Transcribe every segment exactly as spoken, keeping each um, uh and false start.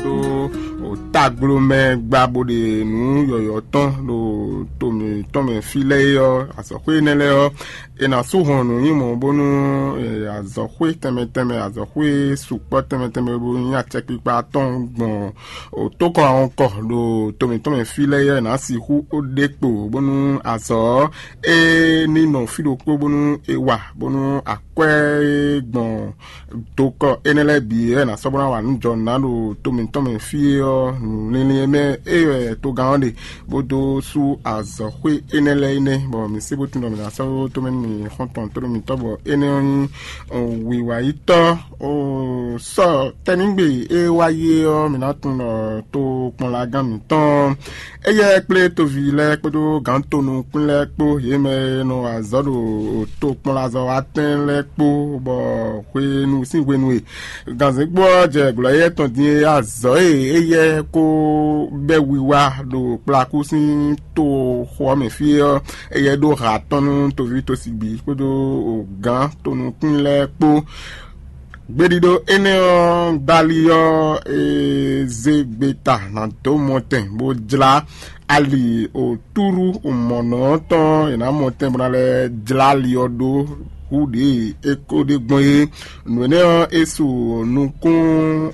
ɖó taglomɛ gba bó ɖe nǔ yɔ̌yɔ́ tɔn ɖo to mǐtɔn mɛ fí lɛ́ɛ é ɔ́, azɔ̌xwé énɛ́ lɛ́ɛ ɔ́, è nǎ sú hɔn nǔ nyi mɔ̌ bónú azɔ̌xwé tɛnmɛ tɛnmɛ, azɔ̌xwé sukpɔ́ tɛnmɛ tɛnmɛ bó nyí acɛkpikpa tɔn gbɔn tókɔ awɔnkɔ ɖo to mǐtɔn mɛ fí lɛ́ɛ é ɔ́, è nǎ sixú ɖe kpo bónú azɔ̌ ɔ́, é ní nɔ fí ɖokpó bónú è wa bónú akwɛ́ e gbɔn dokɔ énɛ́ lɛ́ɛ bǐ wɛ è nǎ sɔ́ bó ná wa nǔ jɔ nǔ ná ɖo to mǐtɔn mɛ fí é ɔ́, nǔ linlin e mɛ é wɛ togán ɔ́ ɖe, bó dó sú azɔ̌xwé énɛ́ lɛ́ɛ é nɛ́, bɔ mǐ sé bó tunwun ɖɔ mǐ ná sɔ́ ɖó tomɛ nú mǐ xɔ́ntɔn tónú mitɔ́, bɔ énɛ́ ɔ́ nyí wǐwayítɔ́. Sɔ tɛ́núgbe e wá yi é ɔ́, mǐ ná tunwun ɖɔ tokpɔnlagán mǐtɔn éyɛ́ kplé toví lɛ́ɛ kpódó gǎn tonukún lɛ́ɛ kpó, yě mɛ e nɔ wa azɔ̌ ɖo tokpɔnlazɔ́watɛn lɛ́ɛ kpó, bɔ hwenu sín hwenu e gǎnzɛ́ngbó ɔ́ jɛ glɔ̌ éyɛ́ tɔn din é, azɔ̌ e éyɛ́ ko bɛ́ wiwa ɖo kplakú sín toxo ɔ́ mɛ fí é ɔ́, éyɛ́ ɖó ha tɔn nú toví tosi bǐ kpódó gǎn tonukún lɛ́ɛ kpó. Gbeɖiɖo énɛ́ ɔ́, gbali ɔ́, e zé gbeta ná dó mɔtɛn bó jlá ali otúɖú mɔ̌nɔ tɔn e nǎ mɔtɛn bó ná lɛ́ jlá ali ɔ́ ɖó hú ɖě e é ko ɖe gbɔn é. Nǔ énɛ́ ɔ́, é su nukún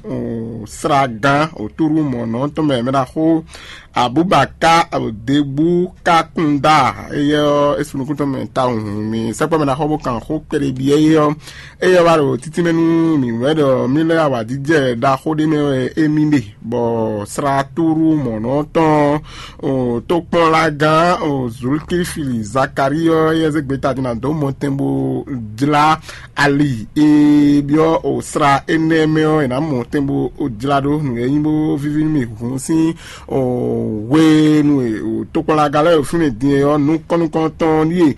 sragán otúɖú mɔ̌nɔ tɔn mɛ mɛ ɖaxó Abubaka Debu Kakunda, éyɛ́ ɔ́, é su nukún tɔn mɛ tawun. Mi sɛkpɔ́ mɛ ɖaxó bó kan xó kpɛɖé byɔ́ é ɔ́, éyɛ́ wá ɖo títí mɛ nú mǐ wɛ ɖɔ mí lɛ́ awǎjijɛ ɖaxó ɖé mɛ wɛ émí ɖe, bɔ sratúɖú mɔ̌nɔ tɔn tokpɔnlagán Zulkifili Zakalíɔ, éyɛ́ zé gbeta din ná dó mɔtɛn bó jlá ali e byɔ́ sra énɛ́ mɛ ɔ́, è nǎ mɔ tɛn bó jlá ɖó nǔ e nyí bó víví nú mì hǔn sín hwenu e tokpɔnlagán lɛ́ɛ ɖo fínɛ́ din é ɔ́, nukɔn nukɔntɔn ɖíe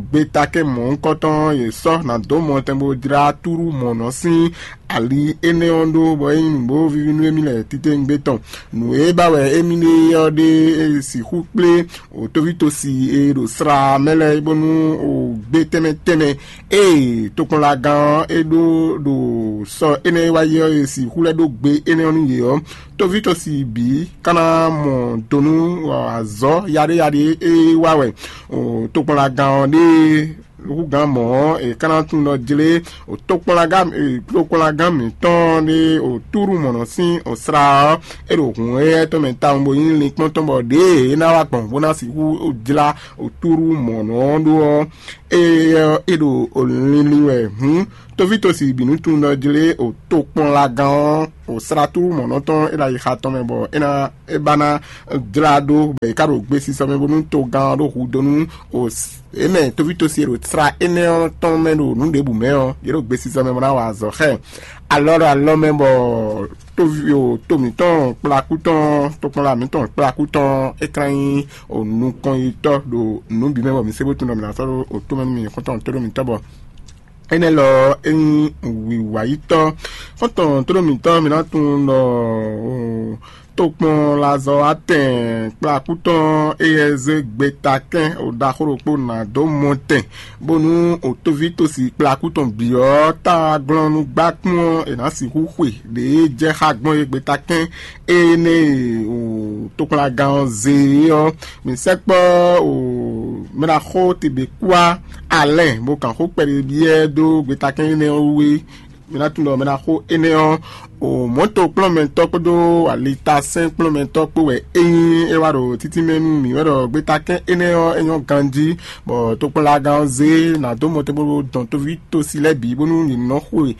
gbeta kɛ́n mɔ̌hunkɔtɔn yě sɔ́ ná dó mɔ tɛn bó jlá túɖú mɔ̌ nɔ sín ali énɛ́ ɔ́ ɖó, bɔ é nyí nǔ bó víví nú émí lɛ́ɛ titewungbe tɔn. Nǔ e ba wɛ émí ɖe ɔ́ ɖe e sixú kplé wǒtóví tosi e ɖo sra mɛ lɛ́ɛ bónú gbé tɛnmɛ tɛnmɛ e tokpɔnlagán ɔ́ é ɖó ɖo sɔ énɛ́ e wá yi ɔ́ e sixú lɛ́ ɖó gbe énɛ́ ɔ́ nú yě ɔ́, tóví tosi bǐ ka ná mɔ do nú azɔ̌ yaɖéyaɖé e wá wɛ tokpɔnlagán ɔ́ ɖe húgǎn mɔ̌ ɔ́, è ka ná tunwun ɖɔ jlé tokpɔnlagán tokpɔnlagán mǐtɔn ɖé túɖú mɔ̌ nɔ sín sra ɔ́, é ɖo hǔn éyɛ́ tɔn mɛ tawun bó nyí linkpɔ́n tɔn, bɔ ɖěe é ná wá gbɔn bó ná sixú jlá túɖú mɔ̌ nɔ ɔ́ ɖó ɔ́, é ɔ́, é ɖo linlin wɛ hǔn. Tóví tosi bǐ nú tunwun ɖɔ jlé tokpɔnlagán ɔ́, sratúɖú mɔ̌ nɔ tɔn é ɖo ayixa tɔn mɛ, bɔ é ná é ba ná jlá ɖó, bɔ è ka ɖo gbesisɔ mɛ bónú togán ɔ́ ɖó hudó nú è mɛ tóví tosi e ɖo sra énɛ́ ɔ́ tɔn mɛ ɖo nǔ ɖěbǔ mɛ ɔ́, yě ɖo gbesisɔ mɛ bó ná wa azɔ̌ xá ɛ. Alɔ ɖo alɔ mɛ bɔ tóví o to mǐtɔn kplakú tɔn, tokpɔnla mǐtɔn kplakú tɔn é ka nyí nukɔnyitɔ́ ɖo nǔ bǐ mɛ, bɔ mǐ se bó tunwun ɖɔ mǐ ná sɔ́ ɖó otó mɛ nú mì xɔ́ntɔn tóɖó mǐtɔn bɔ énɛ́ lɔ é nyí wǐwayítɔ́. Xɔ́ntɔn tóɖó mǐtɔn, mǐ ná tunwun ɖɔ tokpɔnlazɔ́watɛn kplakú tɔn éyɛ́ zé gbeta kɛ́n ɖaxó ɖokpó ná dó mɔtɛn, bónú òtóví tosi kplakú tɔn bǐ ɔ́, ta glɔ́núgbákún ɔ́, è nǎ sixú xwe ɖě jɛ xá gbɔn é gbeta kɛ́n énɛ́ e tokpɔnlagán ɔ́ zé é ɔ́. Mǐ sɛkpɔ́ mɛɖaxó Tebekúa Alɛ́n bó kan xó kpɛɖé byɔ́ dó gbetakɛ́n énɛ́ ɔ́ wú é. Mi ná tunwun ɖɔ mɛ ná xo énɛ́ ɔ́, o mɔ̌tokplɔ́nmɛtɔ́ kpódó alitasɛ́nkplɔ́nmɛtɔ́ kpó wɛ é nyí é wá ɖo títí mɛ nú mǐ wɛ ɖɔ gbetakɛ́n énɛ́ ɔ́ é nyɔ́ ganjí, bɔ tokpɔnlagán ɔ́ zé ná dó mɔtɛn bó dɔn tóví tosi lɛ́ɛ bǐ bónú yě nɔ xwe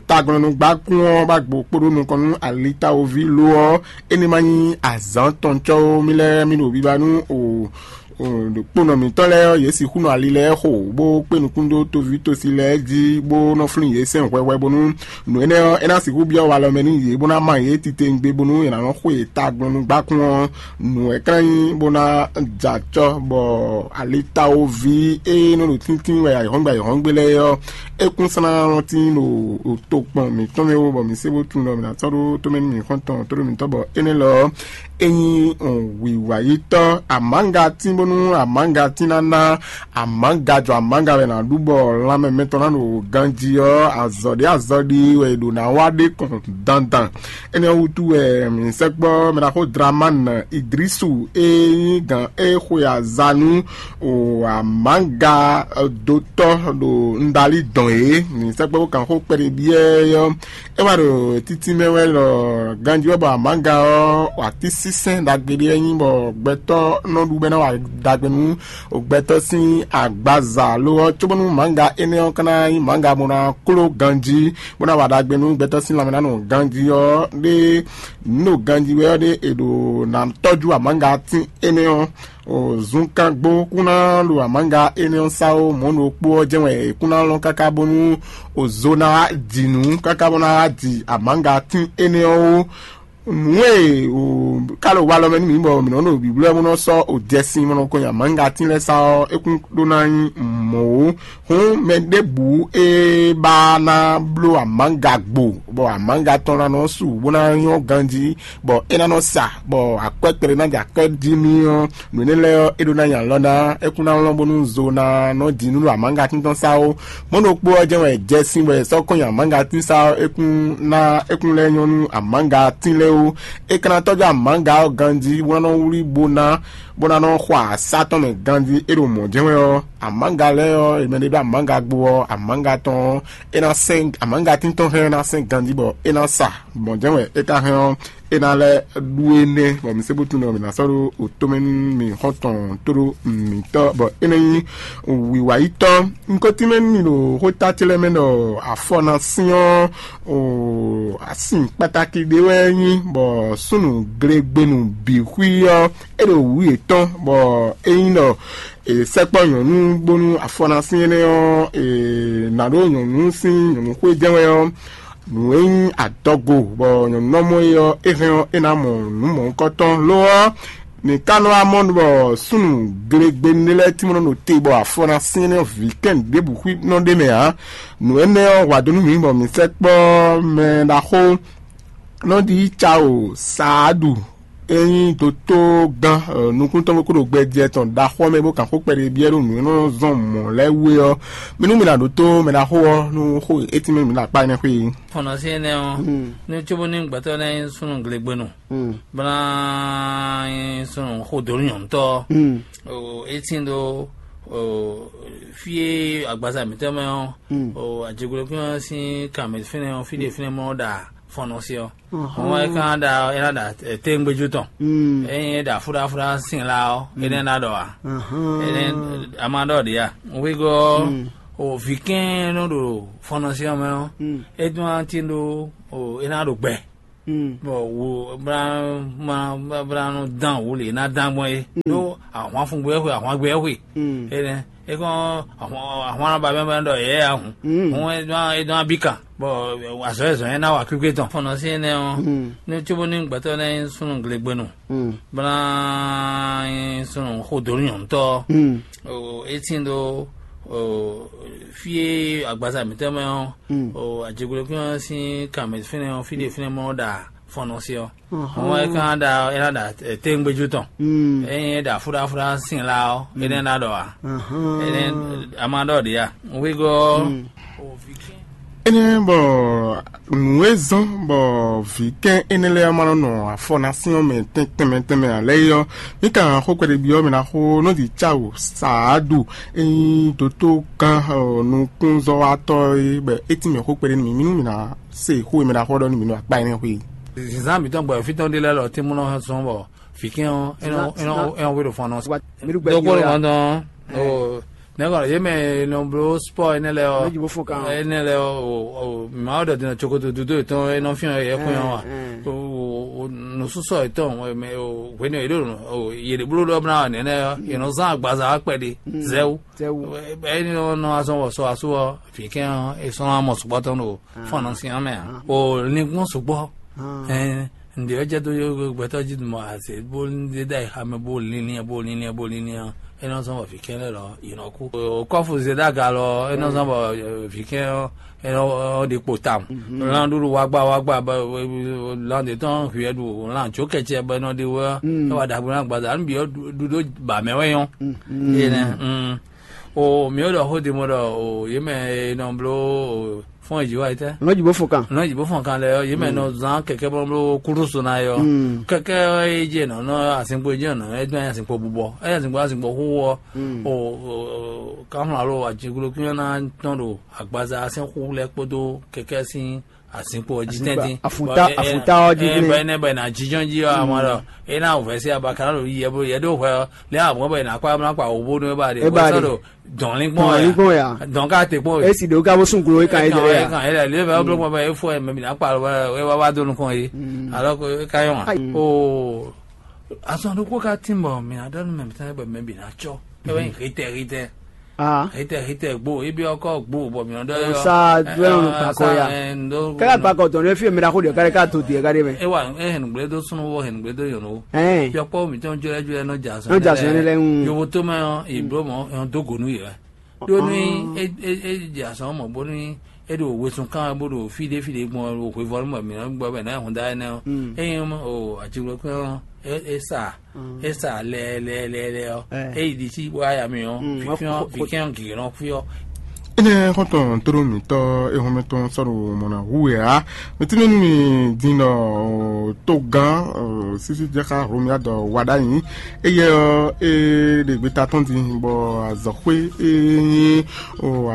taglɔ́núgbákún ɔ́ bá gbo kpódó nukɔn nú alitawoví lo ɔ́, é ní ma nyí azǎn tɔn cɔ́ ó. Mí lɛ́ɛ mí ɖo biba nú o ɖo kponɔ mǐtɔn lɛ́ɛ ɔ́, yě sixú nɔ ali lɛ́ɛ xo, bó kpé nukún dó toví tosi lɛ́ɛ jí, bó nɔ́ flín yě sɛn hwɛhwɛ, bónú nǔ énɛ́ ɔ́, é ná sixú byɔ́ walɔ mɛ nú yě, bó ná má yě titewungbe, bónú è nǎ nɔ́ xo yě taglɔ́núgbákún ɔ́, nǔ wɛ klán nyí, bó ná jɛ acɔ́, bɔ alitawoví e nɔ ɖo tíntín wɛ ayǐhɔ́ngbe ayǐhɔ́ngbe lɛ́ɛ ɔ́, é kún slán nɔ tín ɖo tokpɔn mǐtɔn mɛ wú, bɔ mǐ sé bó tunwun ɖɔ mǐ ná sɔ́ ɖó tomɛ nú mǐ xɔ́ntɔn tóɖó mǐtɔn, bɔ énɛ́ lɔ ɔ́, é nyí wǐwayítɔ́ amǎngatín bó Nú amǎgatín ná ná amǎga jɔ amǎga wɛ è nǎ ɖu bɔ lanmɛ mɛtɔn ná ɖo ganjí ɔ́, azɔ̌ ɖé azɔ̌ ɖi wɛ è ɖǒ ná wa ɖe kɔn dandan. Énɛ́ ɔ́ wútu wɛ mǐ sɛkpɔ́ mɛ ɖaxó Dramani Idrisu e nyí gǎn e xwe aza nú amǎga dotɔ́ ɖo Ndali dɔn é. Mǐ sɛkpɔ́ bó kan xó kpɛɖé byɔ́ ɔ́, é wá ɖo títí mɛ wɛ ɖɔ ganjí wɛ bɔ amǎga ɔ́, atínsínsɛ́n ɖagbe ɖé wɛ nyí bɔ gbɛtɔ́ nɔ ɖu bɔ é ná wa ɖagbe nú gbɛtɔ́ sín agbaza lo ɔ́, cóbónú mǎga énɛ́ ɔ́ ka ná nyí mǎga bó ná kló ganjí, bó ná wa ɖagbe nú gbɛtɔ́ sín lanmɛ ná nɔ ganjí ɔ́, ɖé nǔ ɖo ganjí wɛ ɔ́ ɖé è ɖo ná tɔ́jú amǎga tín énɛ́ ɔ́. Zunkangbó kún ná ɖo amǎga énɛ́ ɔ́ sá ó, mɔ̌ ɖokpó ɔ́ jɛ́n wɛ è kún ná lɔn káká bónú ozo ná wá ji nǔ káká bó ná wá ji amǎga tín énɛ́ ɔ́ ó. Nǔ e ká ɖo walɔ mɛ nú mǐ bɔ mǐ nɔ ɖo bǐblɔ́ bó nɔ sɔ́ ojɛsin bó nɔ ko nyi amǎgatín lɛ́ɛ sá ɔ́, é kún ɖó ná nyí mɔ̌ ó. Hǔn mɛ ɖěbǔ e ba ná bló amǎga gbo, bɔ amǎga tɔn ná nɔ su bó ná nyɔ́ ganjí, bɔ é ná nɔ sa, bɔ akwɛ́ kpɛɖé ná jɛ akwɛ́ jí n'i ɔ́, nǔ énɛ́ lɛ́ɛ ɔ́, é ɖó ná nyi alɔ ná, é kún ná lɔn bónú zo ná nɔ ji nú ɖo amǎgatín tɔn sá ó. Mɔ̌ ɖokpó ɔ́ jɛ́n wɛ jɛ sín bɔ è sɔ́ kɔn nyi amǎgatín sá ɔ́, é kún ná é kún lɛ́ nyɔ́ nú amǎgatín lɛ́ɛ ó. É ka ná tɔ́jú amǎga ɔ́ ganjí bó ná nɔ wlí bó ná bó ná nɔ xɔ asá tɔn mɛ ganjí é ɖo mɔ̌ jɛ́n wɛ ɔ́, amǎga lɛ́ɛ ɔ́, è mɛ ɖé ɖó amǎga gbo ɔ́, amǎga tɔn ɔ́, é ná sɛn amǎgatín tɔn hɛn ná sɛn ganjí bɔ é ná sa. Mɔ̌ jɛ́n wɛ é ka hɛn ɔ́, é ná lɛ́ ɖú énɛ́, bɔ mi se bó tunwun ɖɔ mǐ ná sɔ́ ɖó wǒtomɛ nú mì xɔ́ntɔn tóɖó mǐtɔn, bɔ é ná nyí wǐwayítɔ́. Un ko tínmɛ nú mi ɖo xóta ce lɛ́ɛ mɛ ɖɔ afɔ ná syɔ́n o asin kpatáki ɖé wɛ nyí, bɔ súnnu glegbenu bǐ xwí ɔ́, é ɖo wǔ yětɔn, bɔ é nyí ɖɔ è sɛkpɔ́ nyɔ̌nu bónú afɔ ná syɛ́n énɛ́ ɔ́, è nǎ ɖó nyɔ̌nu sín nyɔ̌nu xwé jɛ́n wɛ ɔ́, nǔ e nyí adɔgo bɔ nyɔ̌nu nɔ mɔ é ɔ́, é hɛn ɔ́, é ná mɔ nǔ mɔ̌hunkɔtɔn. Lo ɔ́, mǐ ka nɔ wá mɔ bɔ súnnu glegbenu lɛ́ɛ tínmɛ nɔ ɖo te bɔ afɔ ná syɛ́n énɛ́ ɔ́ vǐ kɛn ɖěbǔ xwí nɔ ɖ'é mɛ ǎ. Nǔ énɛ́ ɔ́ wa dó nú mǐ bɔ mǐ sɛkpɔ́ mɛ ɖaxó nɔ ɖi Cawo Saadu e nyí dotó gán nukúntɔn bó kó ɖo gbɛjɛ tɔn ɖaxó ɔ́ mɛ bó kan xó kpɛɖé byɔ́ ɖó nǔ e nɔ zɔn mɔ̌ lɛ́ɛ wú é ɔ́, mì nú mi ná ɖótó mɛ ɖaxó ɔ́ nú xó e étínmɛ mi ɖo akpá énɛ́ xwé é. Fɔ́n ɔ́ sín énɛ́ ɔ́, nú cóbónú gbɛtɔ́ lɛ́ɛ nyí súnnu glegbenu, bó ná nyí súnnu xó dó nú nyɔ̌nutɔ́ ɔ́, é tín ɖó fí e agbaza mǐtɔn mɛ ɔ́, ajigblokún ɔ́ sín kan mɛ fínɛ́ ɔ́, fí ɖé fínɛ́ mɔ ɖa fɔ́n ɔ́ sí ɔ́. Hɔn é ka ná ɖa é ná ɖa téŋgbéjú tɔn. Ényí é ɖa fúɖáfúɖá sin la ɔ́, énɛ́ ná ɖɔ ǎ. Énɛ́ a ma ɖɔ ɖě a? Wígɔ́ ɔ́, o vǐ kɛ́n nɔ ɖo fɔ́nɔsí ɔ́ mɛ ɔ́, é dún ná tín ɖó o é ná ɖo gbɛ. Bɔ wo bla ma bla nɔ dán wǔ lě ná dán gbɔn é. Ɖó ahwan fun gbé xwe, ahwan gbé xwe. Énɛ́ é kɔn ahwan ba mɛ bɔ ɖɔ yɛ ya hǔn. Hǔn é dɔn é dɔn abí kan. Bɔ azɔ̌ e zɔ̌n é ná wa kwíkwé tɔn fɔ́n ɔ́ sín énɛ́ ɔ́, ní cóbó ní gbɛtɔ́ lɛ́ɛ nyí súnnu glegbenu, bó ná nyí súnnu xó dó nú nyɔ̌nutɔ́ ɔ́, é tín ɖó fí e agbaza mǐtɔn mɛ ɔ́, ajigblokún ɔ́ sín kan mɛ fínɛ́ ɔ́, fí ɖé fínɛ́ mɔ ɖa fɔ́n ɔ́ sí ɔ́. Hɔn é ka ná ɖa é ná ɖa téŋgbéjú tɔn. Ényí é ɖa fúɖáfúɖá sin la ɔ́, énɛ́ ná ɖɔ ǎ. Énɛ́ a ma ɖɔ ɖě a? Wígɔ́ ɔ́, énɛ́ bɔ nǔ e zɔ́n bɔ vǐ kɛ́n énɛ́ lɛ́ɛ ma nɔ nɔ afɔ ná syɔ́n mɛ tɛnmɛ tɛnmɛ ǎ lɛ́ɛ é ɔ́, mǐ kan xó kpɛɖé byɔ́ mɛ ná xó nɔ́ ɖi cáwǔ saadu e nyí dotó gán nukúnzɔ́watɔ́ é bɔ é tín mɛ xó kpɛɖé nú mì, mì nú mì ná se xó e mɛ ná xɔ ɖɔ nú mì nú akpá énɛ́ xwé. Zǐnzán mǐtɔn gbɔ fí tɔn ɖé lɛ́ɛ lɔ tínmú nɔ zɔn bɔ vǐ kɛ́n ɔ́ é nɔ é nɔ é nɔ wé ɖo fɔn nɔ. Dɔkpɔ́ lɔ dɔn o nɛgɔ yé mɛ nɔ bló sport énɛ́ lɛ́ɛ ɔ́, énɛ́ lɛ́ɛ ɔ́ o mǐ ma wá ɖɔ din cokoto dúdú yětɔn é nɔ fyɔ́n yɛ kún yɔ́ wa. Nǔsúsɔ yětɔn hwenu yě ɖo yě ɖe bló ɖɔ bla nɛnɛ yě nɔ zán agbaza wá kpɛɖé zɛwú. Ɛ́ nɔ azɔn wɔ sɔ asú ɔ́, vǐ kɛ́n ɔ́, è sɔ́ ná mɔ sukpɔ́ tɔn ɖo fɔ́n ɔ́ sín ɔ́ mɛ ǎ. O linkún sukpɔ́ ɛn ǹdě ɔ́ jɛ dó gbɛtɔ́ jí mɔ azě bó ɖe ɖ'ayǐ xá mɛ bó linlin bó linlin bó linlin ɔ́, É nɔ zɔ́n bɔ vǐ kɛn lɛ́ɛ lɔ yě nɔ kú. O kɔ́fu Zedaga lɔ é nɔ zɔ́n bɔ vǐ kɛn ɔ́ é nɔ ɖe kpo tawun. Lan ɖuɖu wagba wagba bɔ lan ɖě tɔn hwiɛ ɖu lan jó kɛcɛ bɔ é nɔ ɖe wɛ é wa ɖaxu ná gbaza nú bǐ ɔ́ ɖu ɖó ba mɛ wɛ nyɔ́. Énɛ́. O mǐ ɖɔ xó din mɔ ɖɔ o yě mɛ e nɔ bló fɔ́n yi wá yi tɛ́. Nɔ jǐ bó fɔn kan. Nɔ jǐ bó fɔn kan lɛ ɔ́, yě mɛ nɔ zán kɛkɛ bɔ bló kúɖó so ná yɔ. Kɛkɛ ɔ́, é jɛ nɔ nɔ asinkpo jɛ nɔ é dɔn asinkpo bubɔ é asinkpo asinkpo xó ɔ́. O kanflá lo ajiglo kí ná tɔn ɖo agbaza sɛn xú lɛ kpódó kɛkɛ sín asinkpo ɔ́ jí tɛ́ntin. Afunta afunta ɔ́ jí bɛnɛ bɛnɛ ajijɔn jí ɔ́ amɔ ɖɔ é ná wǔvɛ́ sí abaka ɖo yi yɛ bó yɛ ɖó hwɛ ɔ́ lɛ amɔ bɔ é ná kpá ná kpa wò bónú é ba ɖe é ba ɖe. Dɔn linkpɔn Dɔn ya. Linkpɔn ya. Dɔn ká te kpɔn. Esi ɖe wo ka bó sún glo é kan é dɛ ya. Kan é lɛ lé bɛ wọ́n bló kpɔn bɛ é fɔ ɛ mɛ bìnà kpa lɔ ɛ wá wá dó nukɔn yé. Alɔ ko é ka yɔn wa. O azɔn ɖokpó ka tín bɔ mìnà dɔn mɛ bìtán bɛ mɛ bìnà tsɔ. Ɛ wɛ hitɛ hitɛ. Ah. Hitɛ hitɛ gbo ebi ɔkɔ gbo bɔ mìnà dɔ yɔ. Sa dɔn nu kpakɔ ya. Kɛlɛ kpakɔ tɔn ne fi mi da ko de kare ka to diɛ kare mɛ. Ewa e hɛn gble do sunu wo hɛn gble do yɔn wo. Ɛn. Yɔkpɔ mi tɔn jɔlɛ jɔlɛ nɔ ja sɔn. Nɔ ja sɔn ne lɛ ŋu. Yovo to mɛ ɔ ìblo mɔ ɔn dó gonu yɛ. Ɖó ní é é é dze azɔn mɔ bónú é ɖo wezun kan bó ɖo fí ɖé fí ɖé gbɔn ɖo hwevɔ́nu mɔ mǐ nɔ gbɔ bɛ nǎ hun dá énɛ́ ɔ́. Ényí o ajigbɔkún ɔ́ é é sa é sa lɛɛ lɛɛ lɛɛ lɛɛ ɔ́ é yi ɖi sí bó yá ya mì ɔ́. Vǐkɛ́n vǐkɛ́n gǐgé nɔ fí ɔ́. Énɛ́ xɔ́ntɔn tóɖó mǐtɔn ehɔnmɛ tɔn sɔ́ ɖo mɔ̌ ná hu wɛ ǎ. Mi tínmɛ nú mi din ɖɔ togán sísí jɛ xá Hlomia dɔ wa ɖ'ayǐ. Éyɛ́ ɔ́, é ɖe gbeta tɔn din bɔ azɔ̌xwé e nyí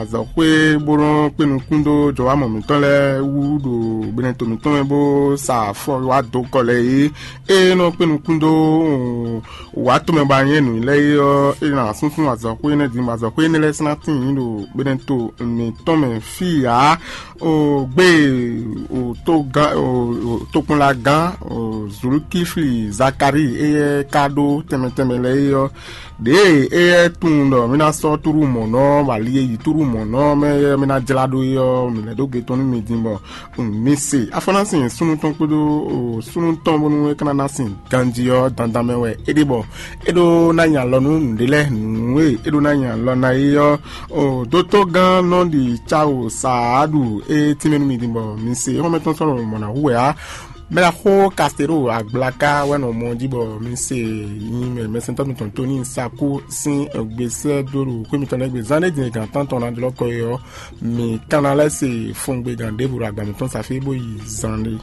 azɔ̌xwé bó nɔ́ kpé nukún dó jɔwámɔ mǐtɔn lɛ́ɛ wú ɖo gbenɛto mǐtɔn mɛ bó sa afɔ wá dó kɔ lɛ́ɛ é. É nɔ kpé nukún dó wǎ tomɛ ba nyɛ́ nǔ lɛ́ɛ é ɔ́, é ná súnsún azɔ̌xwé énɛ́ din, bɔ azɔ̌xwé énɛ́ lɛ́ɛ sín ná tíin ɖo gbenɛto mǐtɔn mɛ fí ǎ. O gbé o togán o tokpɔnlagán o Zulukifli Zakari éyɛ́ ka ɖó tɛnmɛ tɛnmɛ lɛ́ɛ é ɔ́, ɖěe éyɛ́ tunwun ɖɔ mì ná sɔ́ túɖú mɔ̌ nɔ, bɔ ali e yi túɖú mɔ̌ nɔ mɛ éyɛ́ mì ná jlá ɖó é ɔ́, mǐ lɛ́ ɖó gbe tɔn nú mi din bɔ mi se afɔ ná sin súnnu tɔn kpódó súnnu tɔn bónú é ka ná ná sin ganjí ɔ́ dandan mɛ wɛ é ɖe bɔ é ɖó ná nyi alɔ nú nǔɖé lɛ́ɛ nǔ e é ɖó ná nyi alɔ ná é ɔ́. Dótógán nɔ ɖi cawo saaɖu é tínmɛ nú mi din bɔ mi se xɔ́mɛ tɔn sɔ́ lɔmɔ̌ ná hu wɛ á. Mɛ ɖaxó Kastero Agblaka wɛ nɔ mɔ jí bɔ mi se nyi mɛ mɛsɛntɔ́ mitɔn Toni Saku sín gbesɛ dó ɖo xwé mitɔn lɛ́ɛ gbe zán ɖé din gǎn tántɔn ná jlɔ́ kɔ é ɔ́, mi kanna lɛ́ se fɔngbe gǎn ɖěvo ɖo agba mǐtɔn safí bó yi zán ɖé.